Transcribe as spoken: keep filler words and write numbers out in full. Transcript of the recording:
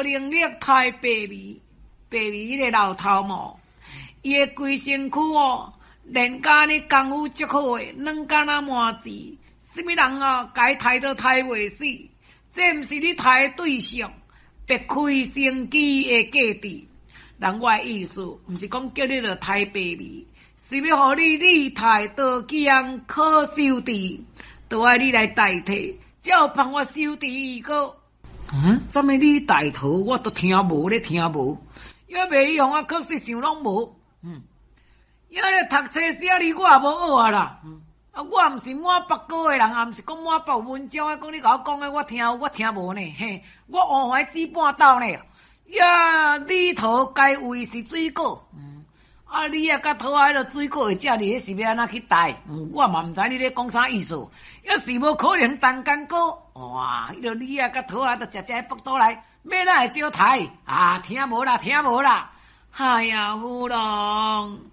能力刣白眉，白眉彼个老頭毛，伊的規身軀哦，練甲按呢功夫足好的，軟敢若麻糍，啥物人啊，共伊刣都刣袂死。這毋是你刣的對象，別開生機的價值。人我的意思，毋是講叫你著刣白眉，是欲予你李刣刀劍可修治，都愛你來代替，才有辦法修治伊個。嗯，啥物李大頭我都聽無咧，聽無，抑袂用啊，確實想攏無。嗯，抑咧讀冊寫字我也無學啊啦。嗯，啊，我毋是滿腹歌的人，也毋是講滿腹文章的，講你共我講的，我聽我聽無呢。嘿，我烏懷指半斗呢。呀，李桃該位是水果。嗯，啊，李仔佮桃仔彼个水果會食你，彼是欲按怎去刣？嗯，我嘛毋知你咧講啥意思。抑是無可能陳干果。哇！彼个李仔佮桃仔都食食腹肚內，欲哪會相刣？啊，聽無啦，聽無啦！哎呀，夫郎。